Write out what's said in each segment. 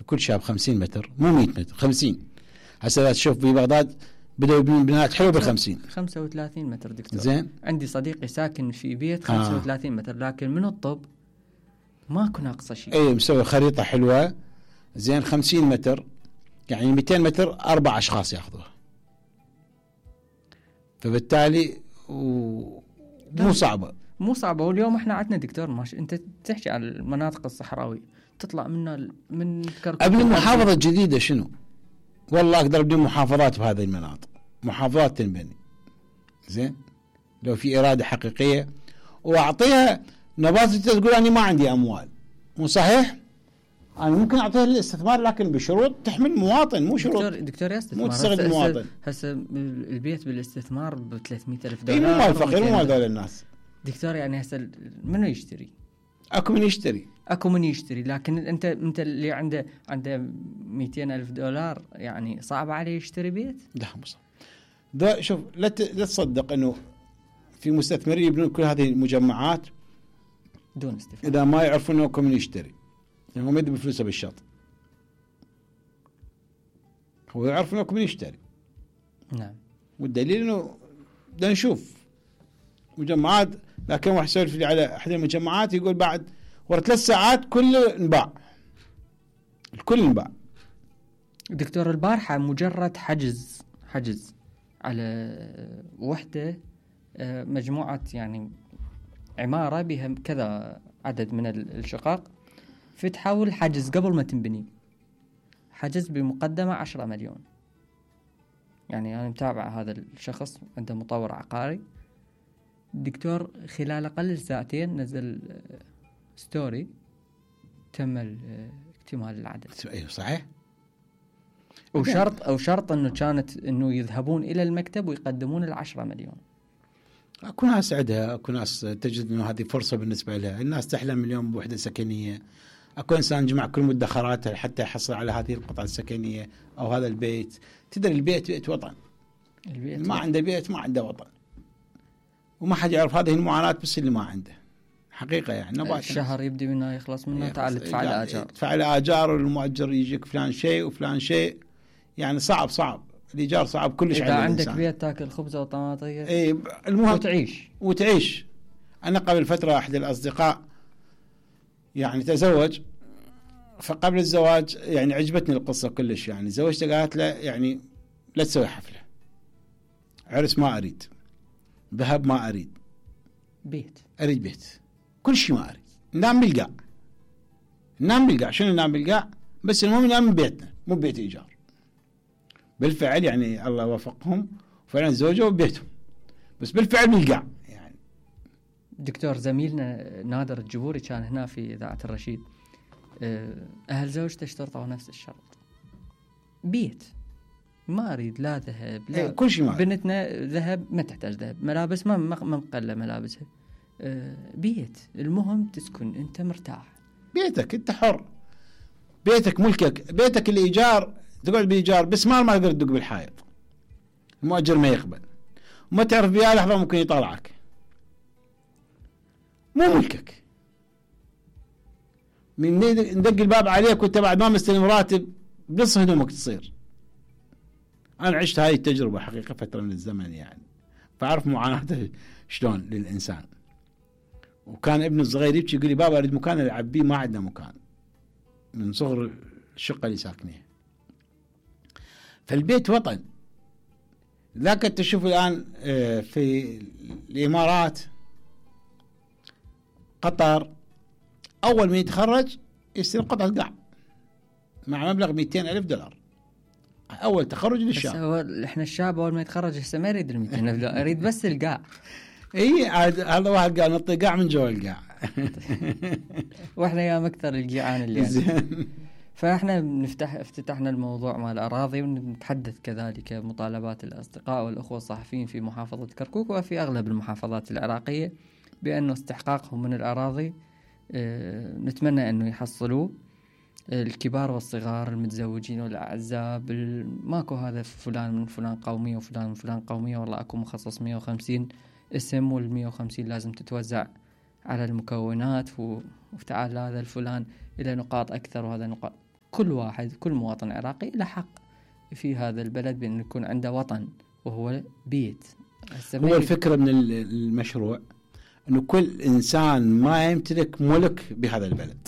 لكل شاب 50 متر، مو 100 متر، 50. هسه لا تشوف ببغداد بدأوا يبنون بنايات حلوة ب50 35 متر دكتور. زين، عندي صديقي ساكن في بيت 35 متر، لكن من الطب ماكو ناقصه شيء. اي مسوي خريطة حلوة. زين 50 متر يعني 200 متر 4 أشخاص ياخذوها، فبالتالي مو صعبة. واليوم احنا عندنا دكتور انت تحكي عن المناطق الصحراوية، تطلع من كركوك. ابني محافظة جديدة شنو؟ والله اقدر ابني محافظات بهذه المناطق، محافظات تنبني. زين لو في إرادة حقيقية واعطيها نبات. تقول اني ما عندي اموال، مو صحيح. انا ممكن اعطيها للاستثمار لكن بشروط تحمل مواطن، مو شروط دكتور مو تستغل المواطن. هسه البيت بالاستثمار ب 300,000 اي دولار. مو مال فقير، مو مال هذول الناس دكتور. يعني هسه منو يشتري؟ اكو من يشتري، لكن انت اللي عنده 200,000 دولار يعني صعب عليه يشتري بيت. لا مو صعب. ده شوف، لا تصدق انه في مستثمرين يبنون كل هذه المجمعات دون استفادة اذا ما يعرفون انه من يشتري. يعني هو ما يدي بفلوسه بالشط، هو يعرف انه من يشتري. نعم. والدليل انه بدنا نشوف مجمعات. لكن واحد يسولف لي على احد المجمعات يقول بعد ورا 3 ساعات كله انباع، الكل انباع. دكتور البارحة مجرد حجز على وحدة، مجموعة يعني عمارة بها كذا عدد من الشقق، فتحوا الحجز قبل ما تنبني، حجز بمقدمة 10 مليون. يعني أنا متابع هذا الشخص، عنده مطور عقاري دكتور، خلال أقل 2 ساعتين نزل ستوري تم اكتمال العدد. ايوه صحيح. وشرط انه يذهبون الى المكتب ويقدمون 10 مليون. اكو ناس عندها، اكو ناس تجد انه هذه فرصه بالنسبه لها. الناس تحلم اليوم بوحده سكنيه. اكو انسان جمع كل مدخراته حتى يحصل على هذه القطعه السكنيه او هذا البيت. تدري البيت بيت وطن. ما عنده بيت ما عنده وطن. وما حد يعرف هذه المعاناه بس اللي ما عنده حقيقه. يعني الشهر يبدي منه يخلص منه، تعال ادفع الاجار، تدفع الاجار والمؤجر يجيك فلان شيء وفلان شيء. يعني صعب الايجار صعب كلش. اذا عندك بيت تاكل خبزه وطماطيه اي المهم وتعيش. انا قبل فتره احد الاصدقاء يعني تزوج، فقبل الزواج يعني عجبتني القصه كلش. يعني زوجته قالت له يعني لا تسوي حفله، عرس ما اريد، ذهب ما اريد، اريد بيت، كل شيء ما اريد. ننام بالقاع. شنو ننام بالقاع؟ بس المهم ننام ببيتنا مو ببيت ايجار. بالفعل يعني الله وفقهم وفعلا زوجوا ببيتهم، بس بالفعل بالقاع. يعني دكتور زميلنا نادر الجبوري كان هنا في إذاعة الرشيد، أهل زوجته اشترطوا نفس الشرط، بيت ما أريد لا ذهب لا كل شيء ما بنتنا ذهب ما تحتاج ذهب، ملابس ما مقلة ملابسها، بيت المهم تسكن أنت مرتاح، بيتك أنت حر، بيتك ملكك، بيتك الإيجار تقعد بإيجار بس ما تقدر تدق بالحائط، المؤجر ما يقبل وما تعرف بيها لحظة ممكن يطلعك، مو ملكك. من ندق الباب عليك وانت بعد ما مستلم راتب بنص هدومك تصير. انا عشت هاي التجربة حقيقة فترة من الزمن يعني، فاعرف معاناته شلون للإنسان. وكان ابن الصغير يبكي يقول لي بابا اريد مكان العب بيه، ما عندنا مكان من صغر الشقة اللي ساكنيها. فالبيت وطن. ذاك تشوف الآن في الإمارات قطر أول ما يتخرج يصير قطعة قاع مع مبلغ 200,000 دولار أول تخرج للشاب. إحنا الشاب أول ما يتخرج هسه ما يريد 200,000 دولار، يريد بس القاع. إيه هذا واحد قال نطي قاع من جوا القاع. وإحنا يا أكثر الجيعان اللي يعني. فإحنا افتتحنا الموضوع مع الأراضي، ونتحدث كذلك مطالبات الأصدقاء والأخوة الصحفيين في محافظة كركوك وفي أغلب المحافظات العراقية بأنه استحقاقهم من الأراضي نتمنى أنه يحصلوه، الكبار والصغار، المتزوجين والأعزاب، ماكو هذا فلان من فلان قومية وفلان من فلان قومية، والله أكو مخصص 150 اسم، وال150 لازم تتوزع على المكونات، وتعال هذا الفلان إلى نقاط أكثر وهذا نقاط كل واحد كل مواطن عراقي له حق في هذا البلد بأن يكون عنده وطن وهو بيت. هو الفكرة من المشروع أنه كل إنسان ما يمتلك ملك بهذا البلد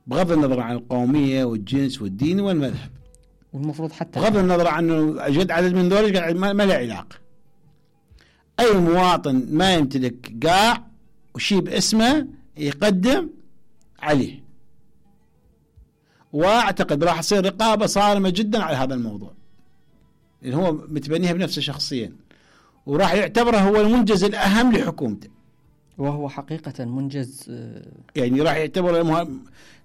بغض النظر عن القومية والجنس والدين والمذهب، والمفروض حتى بغض النظر عنه جد عدد من ذلك ما له علاقة. أي مواطن ما يمتلك قاع وشيء باسمه يقدم عليه، واعتقد راح تصير رقابة صارمة جدا على هذا الموضوع لأن هو متبنيها بنفسه شخصيا، وراح يعتبره هو المنجز الأهم لحكومته، وهو حقيقة منجز يعني راح يعتبره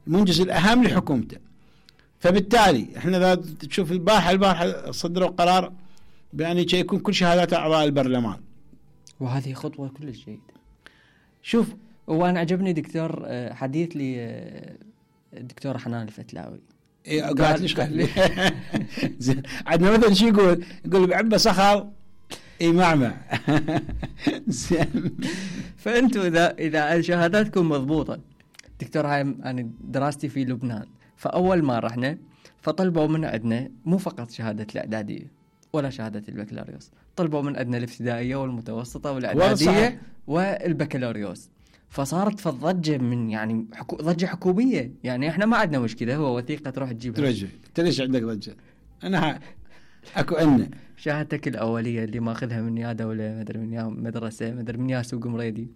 المنجز الأهم لحكومته. فبالتالي احنا إذا تشوف البارحة صدروا قرار بأن يكون كل شهادات أعضاء البرلمان، وهذه خطوة كلش جيدة. شوف، وأنا عجبني دكتور حديث لي الدكتور حنان الفتلاوي قالت ليش قال زين عندنا مثلا شو يقول بعبة صخر معمع زين. فأنتوا إذا شهاداتكم مضبوطة دكتور، هاي أنا دراستي في لبنان، فأول ما رحنا فطلبوا من عندنا مو فقط شهادة الإعدادية ولا شهادة البكالوريوس، طلبوا من عندنا الابتدائية والمتوسطة والإعدادية والبكالوريوس. فصارت فالضجة من يعني ضجة حكومية، يعني احنا ما عندنا مشكلة، هو وثيقة تروح تجيبها. ترجع ليش عندك ضجة؟ أنا أكو أن شهادتك الأولية اللي ماخذها من يا دولة، مدري من يا مدرسة، مدري من يا سوق مريدي.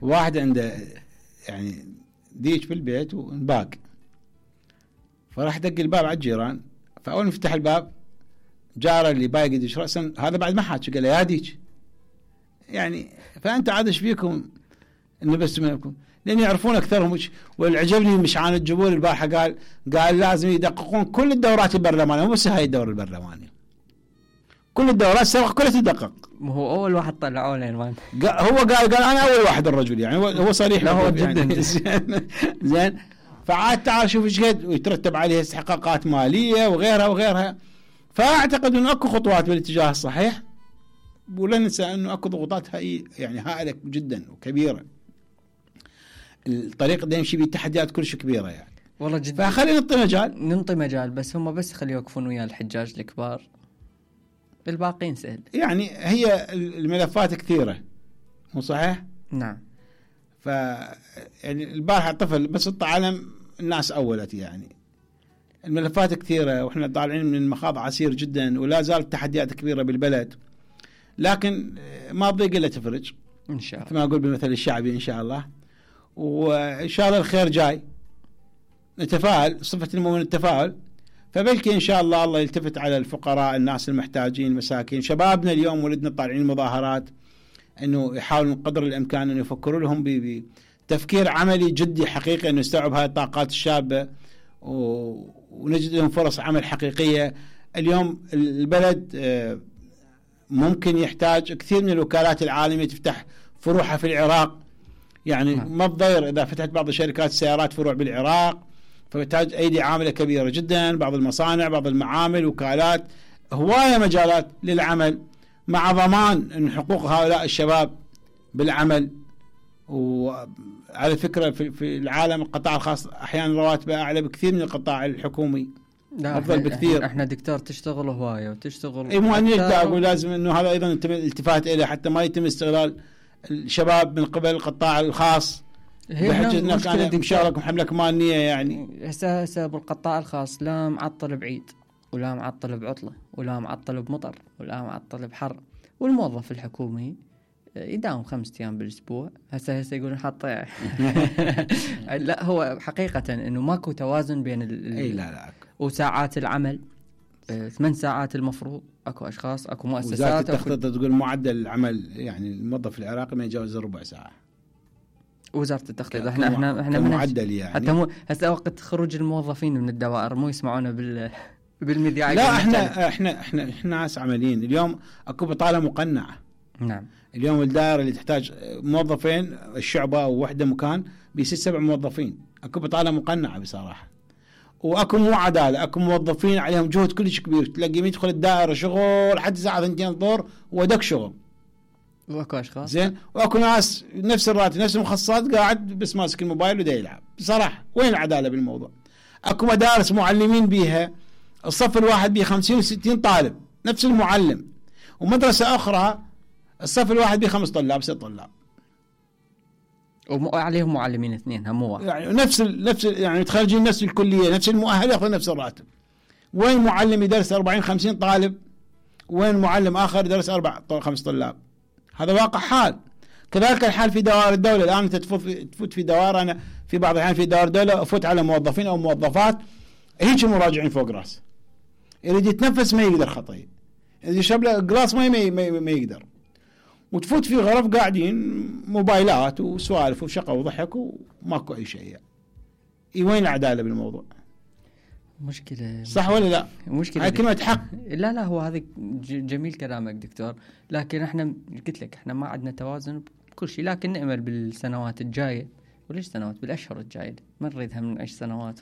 واحد عنده يعني ديش بالبيت ونباق، فراح دق الباب على الجيران، فأول ما فتح الباب جاره اللي بايق يدش رأسا، هذا بعد ما حاج قال يا ديش يعني. فأنت عاد ايش فيكم إنه بس منكم، لأن يعرفون أكثرهم. والعجبني مشعان الجبور البارحة قال لازم يدققون كل الدورات البرلمانية، مو بس هاي الدورة البرلمانية، كل الدورات السابقة كلها تدقق. هو أول واحد طلعوه لين هو قال أنا أول واحد الرجل، يعني هو صريح. لا هو جدا يعني زين. فعاد تعال شوف ايش قد ويترتب عليها استحقاقات مالية وغيرها. فأعتقد إنه أكو خطوات بالاتجاه الصحيح، ولا ننسى إنه أكو ضغوطات يعني هائلة جدا وكبيرة. الطريق ده يمشي بتحديات كلش كبيرة يعني والله جدا. فخلينا ننطي مجال بس هم بس خليه يوقفون ويا الحجاج الكبار، الباقين سهل. يعني هي الملفات كثيرة، مو صحيح؟ نعم. يعني البارحة طفل بس الطعالم الناس أولت، يعني الملفات كثيرة وإحنا طالعين من مخاض عسير جدا، ولا زالت تحديات كبيرة بالبلد، لكن ما بضيق إلا تفرج إن شاء الله، كما أقول بالمثل الشعبي إن شاء الله. وإن شاء الله الخير جاي، نتفائل، صفة المؤمن التفاؤل. فبلكي إن شاء الله يلتفت على الفقراء، الناس المحتاجين، المساكين، شبابنا اليوم ولدنا طالعين مظاهرات، إنه يحاولون قدر الإمكان إنه يفكروا لهم بتفكير عملي جدي حقيقي، إنه يستوعب هاي الطاقات الشابة ونجد لهم فرص عمل حقيقية. اليوم البلد ممكن يحتاج كثير من الوكالات العالمية تفتح فروعها في العراق، يعني ما تضير إذا فتحت بعض شركات السيارات فروع بالعراق، فتحتاج أيدي عاملة كبيرة جدا، بعض المصانع، بعض المعامل، وكالات، هواية مجالات للعمل، مع ضمان أن حقوق هؤلاء الشباب بالعمل. وعلى فكرة في العالم القطاع الخاص أحيانا رواتبه أعلى بكثير من القطاع الحكومي، أفضل بكثير. احنا دكتور تشتغل هواية وتشتغل اي مو أقول لازم إنه هذا أيضا الالتفات إليه حتى ما يتم استغلال الشباب من قبل القطاع الخاص بحجة انك انا مشارك وحملك مالية. يعني هسه بالقطاع الخاص لا معطل بعيد، ولا معطل بعطلة، ولا معطل بمطر، ولا معطل بحر، والموظف الحكومي يداوم 5 أيام بالاسبوع. هسه يقولون حاط لا هو حقيقة انه ماكو توازن بين لا وساعات العمل 8 ساعات المفروض. اكو اشخاص، اكو مؤسسات. وزارة التخطيط تقول معدل العمل يعني الموظف العراقي ما يتجاوز ربع ساعة. وزارة التخطيط احنا معدل يعني حتى هسه وقت خروج الموظفين من الدوائر مو يسمعونا بالمذياع. لا احنا ناس عمليين. اليوم اكو بطالة مقنعة. نعم. اليوم الدائرة اللي تحتاج موظفين، الشعبة او وحدة مكان ب6-7 موظفين. اكو بطالة مقنعة بصراحة، واكو مو عدالة. اكو موظفين عليهم جهد كلش كبير، تلاقي يدخل الدائرة شغل لحد الساعة 2 الظهر ودك شغل. واكو اشخاص زين، واكو ناس نفس الراتب نفس المخصصات قاعد بس ماسك الموبايل ودا يلعب. بصراحة وين العدالة بالموضوع؟ اكو مدارس معلمين بيها الصف الواحد به 50 و60 طالب نفس المعلم، ومدرسة اخرى الصف الواحد به 5 طلاب 6 طلاب وعليهم معلمين اثنين هم واحد، يعني نفس يعني متخرجين نفس الكلية نفس المؤهل ياخذ نفس الراتب. وين معلم يدرس 40 50 طالب، وين معلم اخر يدرس 4 5 طلاب؟ هذا واقع حال. كذلك الحال في دوائر الدولة. الآن أنت تفوت في دوائر، أنا في بعض الأحيان في دوائر الدولة أفوت على موظفين أو موظفات هيك مراجعين فوق رأس، يريد يتنفس ما يقدر خطية، يريد يشرب له جلاس ما يقدر. وتفوت في غرف قاعدين موبايلات وسوالف وشقة وضحك وماكو أي شيء. وين العدالة بالموضوع؟ مشكلة صح ولا لا؟ مشكلة. هاي كلمة حق. لا هو هذا جميل كلامك دكتور، لكن احنا قلت لك احنا ما عندنا توازن بكل شيء، لكن نأمل بالسنوات الجاية، وليش سنوات، بالأشهر الجاية، ما نريدها من 10 سنوات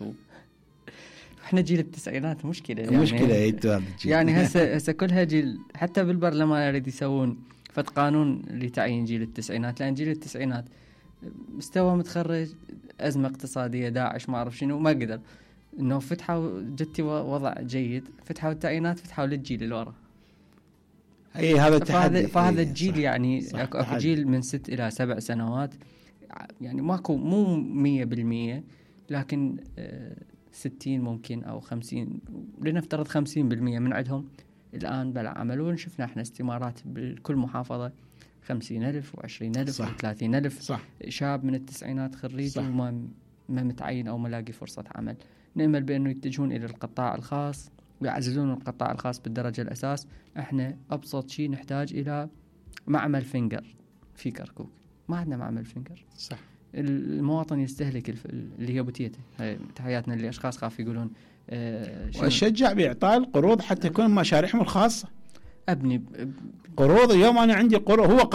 احنا جيل التسعينات مشكلة يعني. مشكلة يعني هسه كلها جيل، حتى بالبرلمان يريد يسوون فد قانون لتعيين جيل التسعينات، لأن جيل التسعينات مستوى متخرج، أزمة اقتصادية، داعش، ما أعرف شنو، ما قدر إنه فتحوا جتي وضع جيد، فتحوا التعيينات، فتحوا للجيل اللي ورا. هذا التحدي. فهذا الجيل يعني أكو جيل من 6 إلى 7 سنوات يعني ماكو، مو 100%، لكن 60 ممكن أو 50، لنفترض 50% من عندهم الآن بلا عمل. ونشوفنا احنا استمارات بكل محافظة 50,000 و20,000 و30,000 شاب من التسعينات خريج وما متعين أو ملاقي فرصة عمل. نأمل بأنه يتجهون إلى القطاع الخاص ويعززون القطاع الخاص بالدرجة الأساس. احنا أبسط شيء نحتاج إلى معمل فينجر في كركوك، ما عندنا معمل فينجر. صح. المواطن يستهلك اللي هي بوتيته. تحياتنا اللي أشخاص خاف يقولون وأشجع بإعطاء القروض حتى تكون مشاريعهم الخاصة. أبني قروض. اليوم أنا عندي قروض، هو قرض